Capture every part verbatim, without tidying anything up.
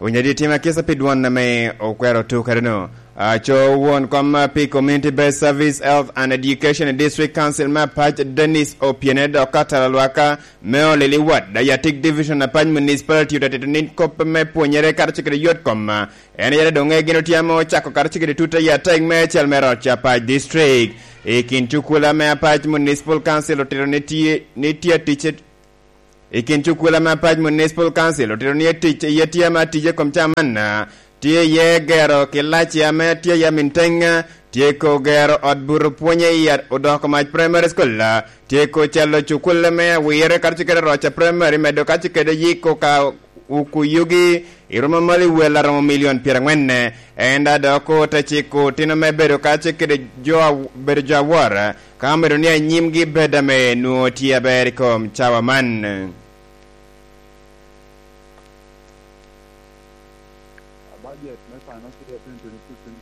Onyadi tim akisa pi dwon ame okwero tukere-nu. Aco won kom pi Community Based Service, Health and Education i District Council me Apac, Dennis Opiene, dok ka tala lwaka me olili wat, Dayatik Division, Apac Municipality, otetito ni kop me pwonyere karacel kede yot kom. En yere doŋ egin otyamo cako karacel kede tute i atek me cel me roc Apac District. I kin cukula me Apac Municipal Council otito ni tye, ni tye tic I kin cukula me Apac Municipal Council otito ni etic iye tye ame atije kom camanna, tye iye gero kilaci ame tye iye minteŋ, tye ko gero ot buto pwonye i Odoko Mac Primary School, tye ko calo cukule me awire karacel kede Roca Primary, medo karacel kede yiko ka uku yugi i romo malo i wel aromo milion pyeraŋwen. En da dok ote ciko otino me bedo karacel kede jo a-, bedo jo awor, ka omedo ni anyimgi bed ame nwoŋo tye aber i kom cawa man. Budget me financial year twenty twenty-six twenty.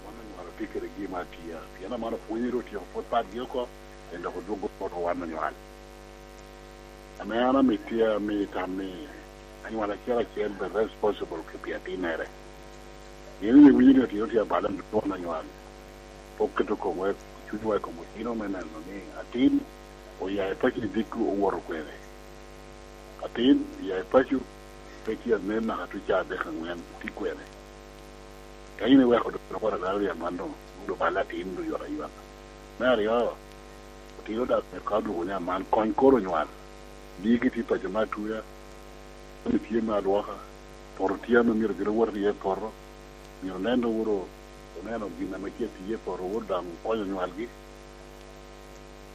Wan onywalo tye kede gin ma tye, pien aman opwonyo ru otyeko pwod patgi oko, en dok odwogo oko wan onywal. Ame an amito, amito tam ni anywal acel acel bed responsible ki pi atimmere. Pien iwinyo ni otino tye abalo, twon anywal pok keto komwa, cunywa i kom otino me neno ni atin oya i paco i dikku owoto kwene. Atin oya i paco, pe tye anen naka tuco adek aŋwen, tye kwene. Ka in iweko dok owoto alalo i aman doŋ, doŋ bal atin doŋ yot ayot. Me aryo, otino daŋ myero ka odwogo ni aman kony koro onywal. Diki tye paco me atuya, jami tye me alwoka, poto tye ame myero gin owot iye i poto, myero onen wunu, oneno gin ame tye atiye i poto, wot daŋ okonyo onywalgi.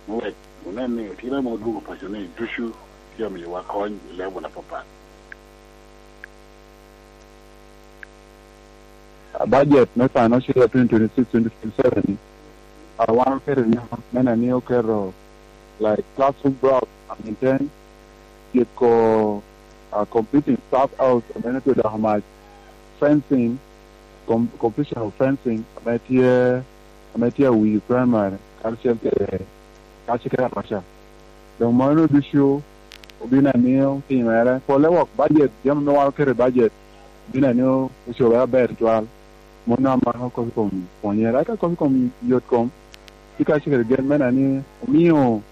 Me wek onen ni otino ame odwogo paco ni ducu tye amiyowa kony i level apapat. A budget me financial year twenty twenty-six twenty twenty-seven ni, a, wan oketo i nyaka me neno ni oketo, like, classroom blocks, I mean, ten, tyeko, a, completing staff house, ame tye doko mac, fencing, com-, completion of fencing, ame tye, ame tye Awii Primary, karacel kede, karacel kede Aroca. Doŋ mano ducu obino amiyo timere. Polle wok budget, jami ame wan oketo i budget, obino amiyo ocobere aber tutwal. Mano amako kop i kom pwonyere. Eka kop i kom yot kom, tye ka cakere gen me neno ni omio,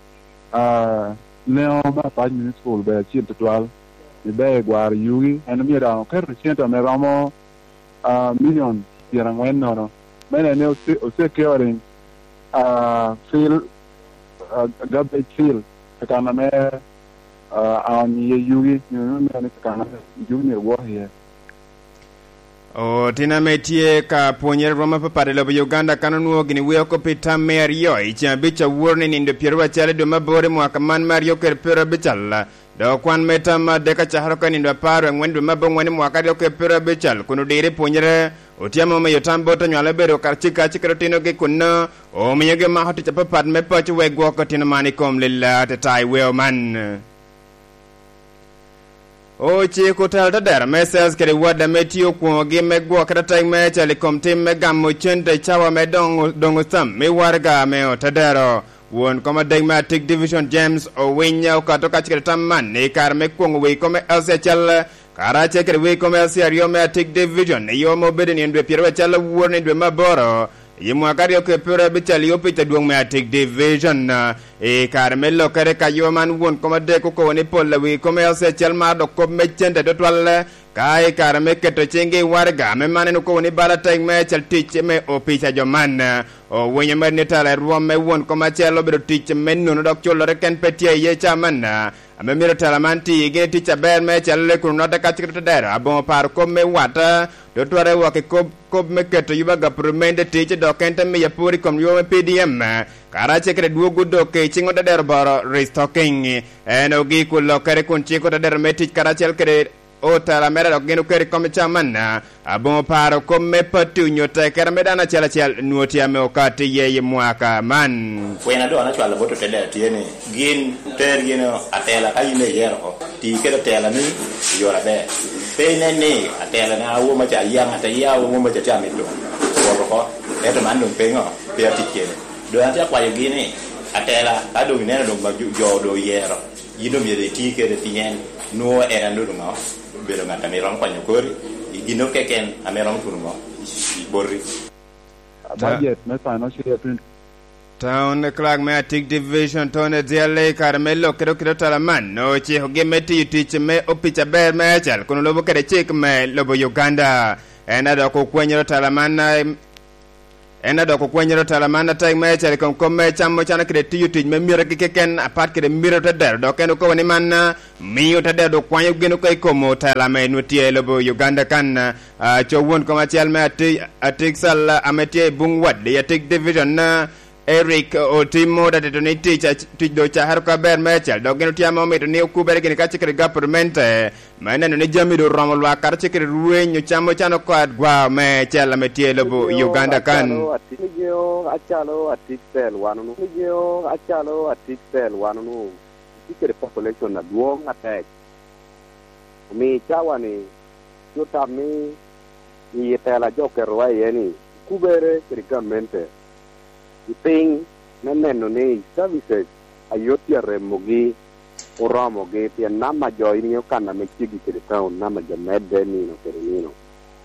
ah, leŋo me Apac Municipal obedo acil tutwal, i ber gwaro yugi. En omio daŋ oketo cente ame romo, ah, milion pyeraŋwen nono. Me neno ni ose-, osecuring, ah, fill, ah, garbage fill, kakan ame, ah, aonyo iye yugi, nyo me neno ni kakan ame yugi myero gwok iye. Otino ame tye ka pwonyere rwom apapat i lobo Uganda kan onwoŋo gini weko pi tam me aryo i ceŋ abic awor ni nindo pyeraryo acel i dwe me aboro i mwaka man me aryo kede pyeraryo abical. Dok kwan me tam adek acakere oko i nindo apar aŋwen dwe me aboŋwen i mwaka aryo kede pyeraryo abical kun odiro i pwonyere. Otyamo miyo tam bot onywale obedo kacika acikere otinogi kunno, omiogi mako tic apapat me paco wek gwok otino man i kom lila atata i weo man. Ociko telo tedero me sales kede wad ame tye okwoŋogi me gwokere atek me cal i kom tim me gamo cente i cawa me doŋ, doŋ osam me waraga ame otedero. Won kom adek me Atik Division James Owinya okato kacel kede tam man i kare me kwoŋo wii kom me L C acel, karacel kede wii kom me L C aryo me Atik Division i yo ma obedo i nino dwe pyeraryo acel awor ni dwe me aboro, i mwaka aryo kede pyeraryo abical i opic adwoŋ me Atik Division. I kare me lokere ka yo man won kom adek okobo ni pol a wii kom me L C acel maro dok kop me cente tutwal, ka i kare me keto ciŋgi i waraga, ame man en okobo ni bala tek me acel tic me opic a jo man. Owinyo mere ni tela i rwom me won kom acel obedo tic me nono dok cullere ken pe tye iye ca man, ame myero tela man ti gin i tic aber me acel kun onotte ka cik tedero aboŋo paro kop me wata, dotware wok i kop, kop me keto yuba gapuro mende tic dok en te miyo apor i kom yo me P D M, karacel kede dwogo dok i ciŋ otedero boro restocking. En ogik olokere kun cik otedero me tic karacel kede otela mere dok gin oketo i kom i camanna. Aboŋo paro kop me pati onyo tekere me dano acel acel nwoŋo tye ame okato iye i mwaka man. Pwena doŋ acwalo bot otedero tye ni gin ter gin atela ka in iyero oko, ti kede atela ni i yore aber. Pe inen ni atela na awo maca ayaŋ, ata iya awo maca tye amito wot oko, ento man doŋ pe ŋo, pe atic kede. Doŋ atye akwayogi ni atela ka doŋ ineno doŋ ma jo, jo doŋ oyero, Yin omyero iti kede pien nwoŋo en a nodo ŋo, obedo ŋat ame romo konyo kori i gin keken ame romo tuno ŋo i boti. Budget me financial year twenty. Town Clerk me Atik Division, Tony Eziali, kare me lok kede okelo tala man, ocikogi me tiyo tic me opic aber me Acal kun olubo kede cik me lobo Uganda. En a dok okwenyoro tala man, eh, en a dok okwenyoro tala man atek me Acal i kom kop me cam ocano kede tiyo tic me miragi keken apat kede miro te dero, dok en okobo ni man, ah, miyo te dero dok kwanyo gin oko i kom otela ame nwo tye i lobo Uganda kan, ah, co won kom acel me Ati-, Atik Sal, ah, ame tye i Bung Wad i Atik Division, ah, Eric Otimo da tito ni tic ac-, tic do cakere oko aber me Acal, dok gin otye ame omito ni okubere gini kacel kede gapurmente, me neno ni jami do oromo lwak karacel kede rweny ocamo can oko adwa me Acal ame tye i lobo Uganda kan. Acalo atic, acalo atic tel wan onwoŋo, acalo atic tel wan onwoŋo, tye kede population adwoŋ atek. Omio i cawa-ni, tye tam ni i tela jo oketowa iye ni, okubere kede gamente i piny me neno ni services a yot tye aremogi oromogi, pien namba jo, in iŋeo kan ame ceggi kede taun, namba jo medde nino kede nino.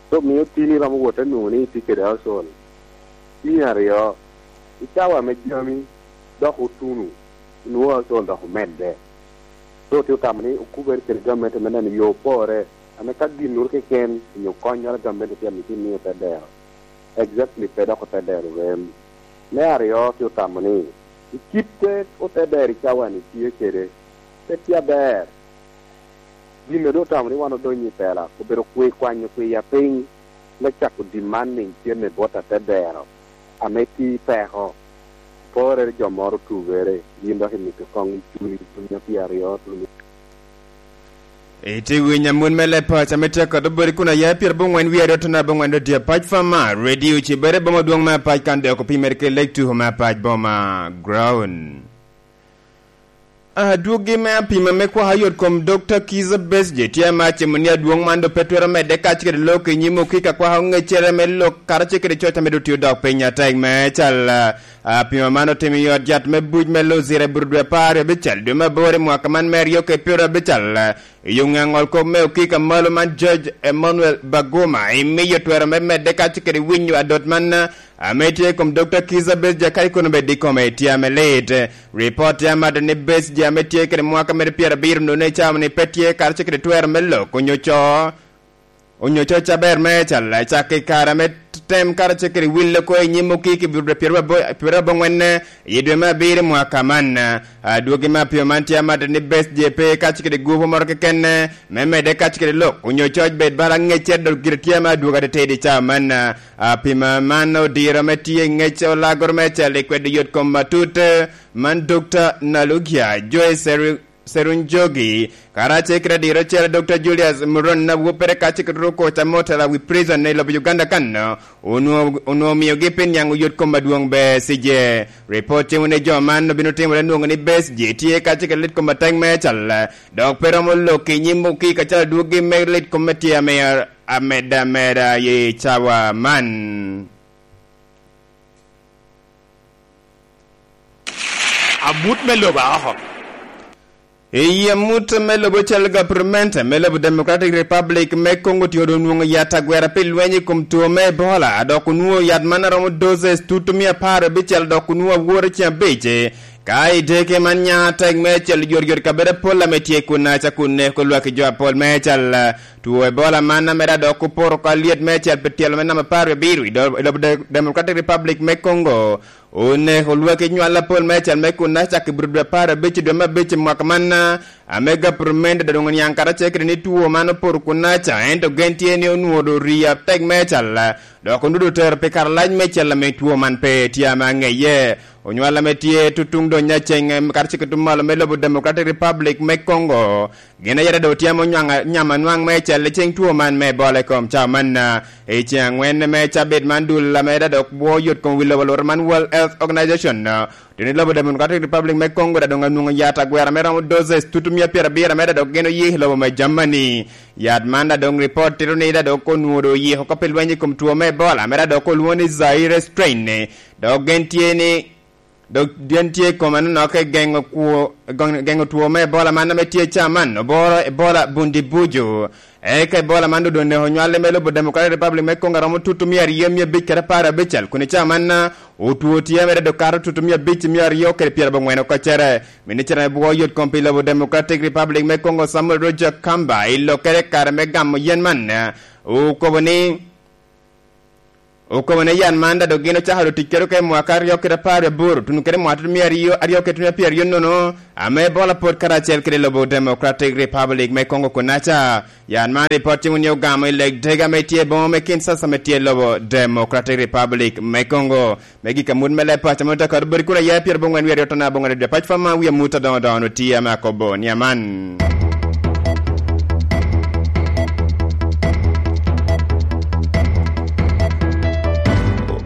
So, mio tin iromo wot anwoŋo ni itye kede household. Tin aryo, i cawa ame jami dok otuno, inwoŋo household dok omedde. So, tye otamo ni okubere kede gamente me neno yo opore, ame ka ginnoro keken onyo konnyoro a gamente tye amito imiyo te dero. Exactly, pe dok ote dero rem. Me aryo, tye otamo ni i kit te ote dero i cawa-ni tye kede, pe tye aber. Gin a doŋ otamo ni wan odonyo i tela, obedo kwi-, kwanyo kwiya piny me cako demanding cente bot atedero ame tye i peko. Porere jo moro otugere, gin dok imito koŋ i cuni, cuni a pyeraryo, cuni. Itye winyo amut me leb paco ame tye kede obodi kun aya pyerabongwen wie aryo tona abongwen dodiyo pac fama, Radio Cibere boma dwoŋ me apac kan dok opimere ki leg tuko me apac boma ground. Adwogi me apima me kwaka yot kom Dokta Kiza Besigye tye ame acimo ni adwoŋ man doŋ pe twero medde kacel kede lok i nyim okika kwaka oŋeccere me lok karacel kede coc ame doŋ tye odok piny atek me cal. Ah, apima man otimo i ot yat me buc me Luzira i Burudwe apar aryo abicel dwe me aboro i mwaka man me aryo kede pyero abicel. I yo ŋe aŋol kop me okika malo man George Emmanuel Baguma imiyo twero me medde kacel kede winyo adot man, ah, ame tye i kom Dokta Kiza Besigye kadi kono bed i kome tye ame lit. Ripot tye amado ni Besigye ame tye kede mwaka mere pyerabiro nonne i cawa-ni pe tye karacel kede twero me lok onyo co, onyo coc aber me cal, cak i kare ame tem karacel kede wil oko i nyim okiki i Burudwe pyerabongwen i dwe me abiro i mwaka man. Adwogi me apio man tye amado ni Besigye pe kacel kede gupu moro keken me medde kacel kede lok onyo coc bed bala ŋeccere dok gire tye ame adwogi atetedi i cawa man. Apima man odiro ame tye i ŋec olagoro me cal i kwedo yot kom matut, man Dokta Nalugia Joy Seru-, Serunjogi, karacel kede adiro ocele Dokta Julius Muron na wopere kacel kede ruko camo tela wi prison i lobo Uganda kan, onwo-, onwoŋo miogi pi niaŋ oyot kom adwoŋ Besigye. Ripot cimo ni jo man obino timore nwoŋo ni Besigye tye kacel kede lit kom atek me cal, dok pe romo lok i nyim okika calo adwogi me lit kom me tye ame amedde ameda i cawa man. Amut me lobo a oko. I amut me lobo cal gapurment me lobo Democratic Republic me Congo tye onwoŋo yat agwera pi lweny i kom two me Ebola, dok onwoŋo yat man aromo doses tutu mia apar abicel, dok onwoŋo awor i ceng abic. Ka i deke man nya tek me cel yoryot kabedo apol ame tye kun aca kun neko lwak i jo apol me cal. Two Ebola man ame dok oporo oko alyet me cel pi tyelo me namba apar abiro i do-, i lobo De-, Democratic Republic me Congo. Oneko lwak i nywal apol me cel me kun aca i bur dwe apar abic i dwe me abic i mwaka man, ame gapurment doŋ oniaŋ karacel kede ni two man oporo kun aca, ento gen tye ni onwoŋo doŋ rii atek me cel. Dok onudo otero pi kare alac me cel ame two man pe tye ame aŋeye. Onywal ame tye tutuŋ doŋ nyaceŋ, em, karacel ki tuŋ malo me lobo Democratic Republic me Congo, gin aye doŋ tye ame onywaŋ, nyam anwaŋ me cel i ceŋ two man me Ebola i kom cawa man, ah, i ceŋ aŋwen me cabit man dul ame dok bwo yot kom wi lobo lworo man World Health Organization, ah, tye ni lobo Democratic Republic me Congo da doŋ anwoŋo yat agwera me romo doses tutu mia pyerabiro ame da dok gin oye i lobo me Germany. Yat man da doŋ ripot tito ni da dok onwoŋo doŋ oyiko oko pi lweny i kom two me Ebola ame da dok olwoŋo ni Zaire strain. Dok gen tye ni, Dok dyen tye i kome anonok i geŋo kwo, geŋo two me Ebola man ame tye i caa man, oboro Ebola Bundibugyo. Eka Ebola man doŋ oneko nywal me lobo Democratic Republic me Congo aromo tutu mia aryo mia abic kede apar abicel, kun i caa man, otwo tye mere dok kato tutu mia abic mia aryo kede pyerabongwen oko cere. Minicita me bwo yot kom pi lobo Democratic Republic me Congo, Samuel Roger Kamba, i lokkere i kare me gamo yen man, okobo ni, okobo ni yan man daŋ dok gin ocako doŋ tic kede oko i mwaka aryo kede apar aboro, tuno kede mwaka tuno mia aryo, aryo kede tuno pyeraryo nono, ame Ebola pwod karacel kede lobo Democratic Republic me Congo kunaca. Yan man ripot cimo ni ogamo i leg dega ame tye i boma me Kinshasa ame tye i lobo Democratic Republic me Congo. Me gik amut me leb paco, amut akado boti kun aye pyerabongwen wie aryo tona abongwen apac fama wie amut adoŋo doŋo tye ame akobo ni aman.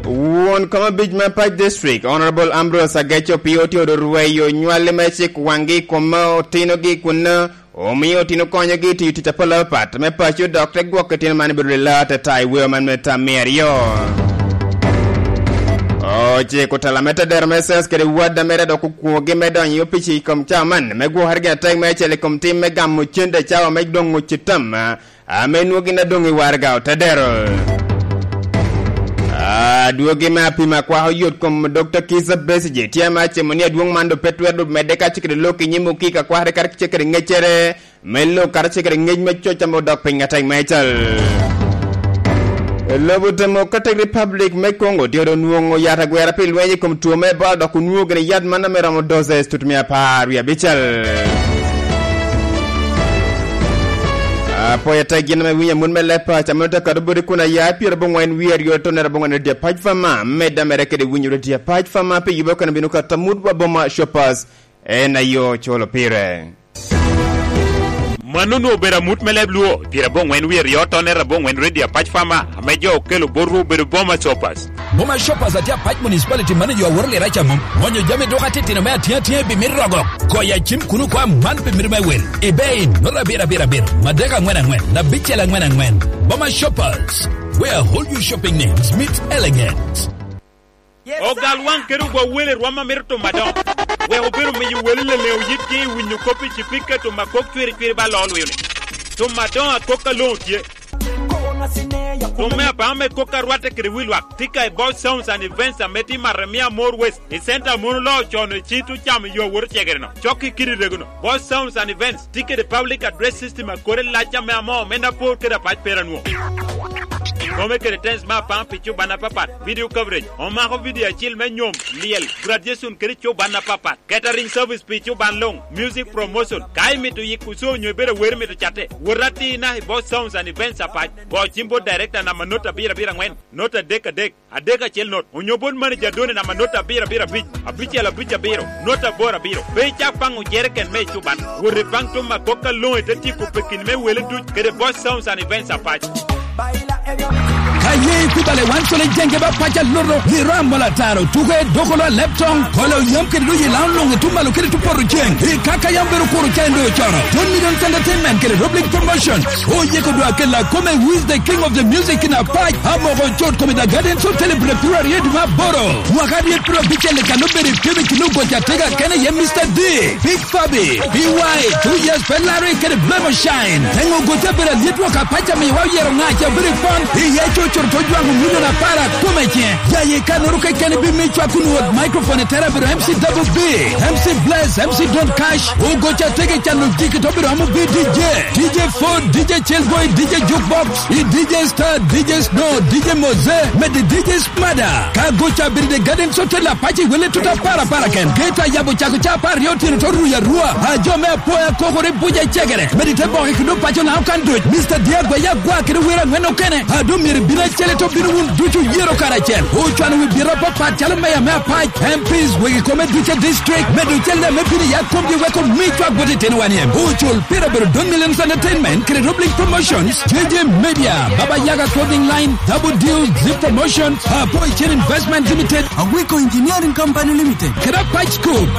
Won kom abic me Pac District, Honorable Ambrose Ageco Opio, otye odo rweyo nywalli me cik waŋgi i kom otinogi kun omio otino konyogi i tiyo tic apol apapat me paco, dok te gwoko itino man i bedo lila atata i weo man me tam mia aryo. Ociko tela me tedero me census kede wadda mere dok okwogi me donyo i opic i kom cawa man me gwokere gin atek me acel i kom tim me gamo cente cawa me doŋ ŋuc i tam, ame nwogi na doŋ i waraga otedero. Adwogi me apima kwako yot kom Dokta Kizza Besigye tye ame acimo ni adwoŋ man doŋ pe twero doŋ medde ka cikere lok i nyim okika kwakere kadi cikere ŋeccere me lok kadi cikere ŋec me coc ame odok piny atek meicel. Lobo Democratic Republic me Congo tye doŋ nwoŋo yat agwera pi lweny i kom two me Ebola dok onwoŋo gini yat man ame romo doses tutumia apar wie abicel. Apoya tek gin ame winyo amut me leb paco ame ote kado boti kun aya pyerabongwen wie aryo tonere abongwen odye pac fama, medda mere kede winyo odye pac fama pi yubo kene bino kato amut wa boma Shoppers, en ayo culo pire. Mano onwoŋo obedo amut me leb Luo, pyerabongwen wie aryo tonere abongwen Radio Apac Fama, ame jo okelo botwu obedo Boma Shoppers. Boma Shoppers atye Apac Municipality, mano jo aworo lira ca mom. Mwonyo jami duka titino me atiŋ atiŋa i bimit rogo. Goyo acim kun okwa man pi mito me wel. Ibein, nota abiro abiro abiro, madek angwen angwen, abicel angwen angwen. Boma Shoppers, where all your shopping needs meet elegance. Ogal waŋ kede ogwa wele rwom a mito timo adoŋo. Wek obedo miyo wele leleŋo yitgi i winyo kop i cipika timo akok cwiri cwiri ba loo lwio-ni. Timo adoŋo akok a loŋo tye. Timo me apaŋo me kok a rwatte kede wi lwak, tika i Boss Sounds and Events ame tye i Maremia More West, i center a mon oloo con i cit ocamo yo awot ocegere-no. Cok i kidi rego-no. Boss Sounds and Events tye kede public address system a kore lac ame amoo omenda apor kede apac pera nwo. Kome kede tens me apaŋ pi cuban apapat, video coverage, omako video acil me nyom, lyel, graduation kede cuban apapat, catering service pi cuban luŋ, music promotion, ka imito yiko show nyo ibedo awero mito catte, wot atina i Boss Sounds and Events Apac, go cim bot director namba nota abiro abiro angwen, nota adek adek, adek acel not, onyo bot manager Doni namba nota abiro abiro abic, abicel abic abiro, nota aboro abiro. Pe icak paŋo jeriken me ecuban. Wot ipaŋ tuma kok aloŋo ite tyeko pekini me wele duc kede Boss Sounds and Events Apac. Ka ye ikubale wan cole jenge ba pac aloto, liro amol ataro, tuke dokolo alep toŋ, kolo yam kede doyi laŋo luŋ itum malo kede tu poto ceng. I kaka yam bedo kuro ca endo ocono. Don Millions Entertainment kede Roblic Promotion. Oyeko dwa kela kome, who is the king of the music in Apac? Amoko cut kome The Gardens Hotel i Bura Piru Aryo dwe me aboro. Mwaka aryo piru abicel i kan obedo i pimo i kin ogoc atega kene ye Mister D, Big Fabi, B Y, two years pe laro i kede Blemo Shine. Engo ogoc abedo alyet wok Apac amiwa oyero ŋac abedo i pon. Iye co coro to jwaŋo milion apar akome ce. Yaye kanoro kekene bi mi cwak kun wot microphone i tera bedo M C Double B, M C Bless, M C Don Cash. Ogoc atega i cano jiki to bedo amo bi D J. D J Ford, D J Chillboy, D J Jukebox, i D J Star, D J Snow, D J Moze, mede D J Smada. Ka goca abiri de Garden Hotel Apac i wele tuta para para ken. Geta yabo cako ca apar aryo otyeno to ruya rua. A jo me apoya kokore buja cegere. Mede te boke kudo paco na okan duc. Mister Diagwa ya gwa kede wera angwen okene. A do myero bino acele to bino wun ducu yero karacel. Ocwano wi biro papat calo meya me Apac. M Ps wegi kome duce district. Medo cel me bino ya komgi weko mi cwak bot itino wan iem. Ocul pira bedo Don Millions Entertainment kede Roblink Promotions. J J Media, Baba Yaga Clothing Line, Double Deal, Zip Promotions, Apoy Chain Investment Limited, Agwiko Engineering Company Limited, kede Apac Scoop.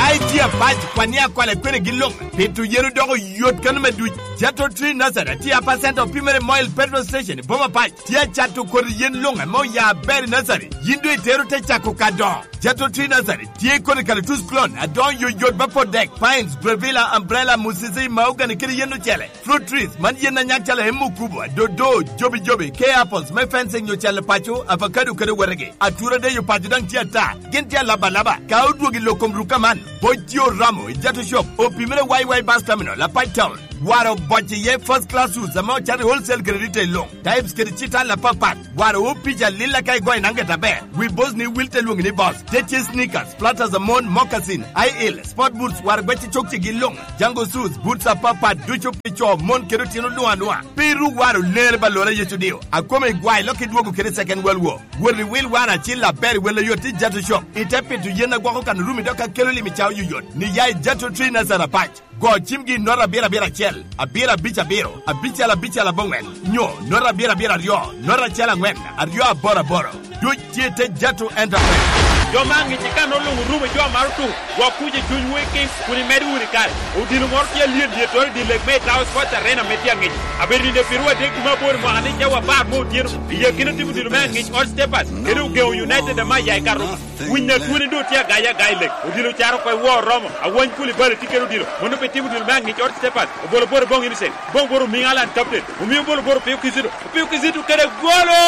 Ai, tye apac, kwan ni akwala kwene gin luŋ. Pito yen odoko yot kano me duc. Jato Tree Nursery tye apa center opimere Moil Petrol Station i boma pac. Tye acato kodi yen luŋ ame oya aber i nursery. Yin doŋ itero te cako ka dongo. Jato Tree Nursery tye kodi calatus clone adoŋo yoyot me pot dek, pines, bravilla, umbrella, musisi, mahogany kede yen ocele. Fruit trees, man yen a nyak calo emmukubo, dodo, jobijobi, kea apples me fencing nyo calo paco, avocado kede wetegi. Atura deyo paco daŋ tye ata, gin tye alaba alaba. Ka odwogo i lok kom rukka man, bot tye oromo i Jato Shop, opimere Y Y Bus Terminal, Apac Town. Waro oboc iye first class woods ame ocato i wholesale kede retail luŋ. Types kede cital apapat. Waro opic alil aka igoyo i nanget aber. Wi boss ni wil te lwoŋi ni boss. Te tye sneakers, platters amon, moccasin, high heel, sport boots, waro gwec i cokcigi luŋ. Django shoes, boots apapat ducu pi co, mon kede otino luŋ aluŋa. Pe iru waro ler ba lora Yecu dio. Akome igwayo lok idwogo kede second world war. Wot i wil waro acil aber i wel oyot i Jato Shop. Ite pito yen agwoko kan orumi dok akelo lim i cawa yoyot. Ni ya i Jato Tree Nursery Apac. Go cimgi i nota abiro abiro acel, abiro abic abiro, abicel abicel aboŋwen, nyo nota abiro abiro aryo, nota acel aŋwen, aryo aboro aboro. Duc tye i te Jato Enterprise. Jo me aŋic i kan oluŋ orumo jo a maro tuko, gwok kuc i cunywu i Kings kun imedo wunu i kare. Odilo moro tye alyet lyettoro i dye lek me Itawo Sports Arena ame tye aŋic. Abedo nino piro adek dwe me aboro i mwaka ni cawa apar me otyeno. I akina timo odilo me aŋic Old Steppers kede Ogeŋo United ame aya i Karuma. Winy a twoni doŋ tye agaye aga i lek. Odilo caro oko i wor romo. Awany Koulibaly tye kede odilo. Mano pe timo odilo me aŋic Old Steppers. Obolo boro boŋ Innocent. Boŋ boro Erling Haaland captain. Omio obolo boro Opio Kizito. Opio Kizito kede golo!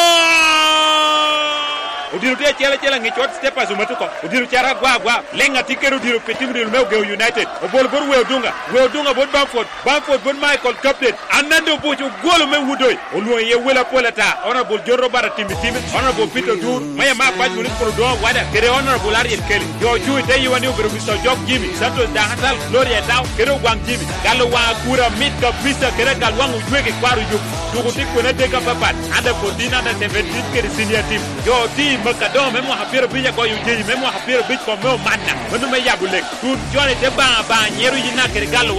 Odilo tye acel acel aŋic Old Steppers omato oko. Odilo caro agwa agwa. Leŋ atye kede odilo pe timo odilo me Ogeŋo United. Obolo boro Weo Dunga. Weo Dunga bot Bamford. Bamford bot Michael captain. Ananda Obuc ogwolo me Wudoi, olwoŋo iye wele apol ata, Honorable John Robert Atim Itime, Honorable Peter Odur, Mayor me Apac Municipal Odoŋo Awada, kede Honorable Ariel Kelly. Jo ocuŋ i te yiwa ni obedo Mister Ojok Jimmy, Santos Dahatal, Gloria Etao, kede Ogwaŋ Jimmy. Galo waŋ akura mit kabisa kede agal waŋ ojwege kwaro yub. Tuko tye kwene adek apapat, under fourteen, under seventeen kede senior team. Jo oti i Makadoŋo me mwaka pyerabic agoyo ojeyi me mwaka pyerabic kom me Omanna, mano me yabo lek. Tut con i te baŋa baŋa nyero yina kede galo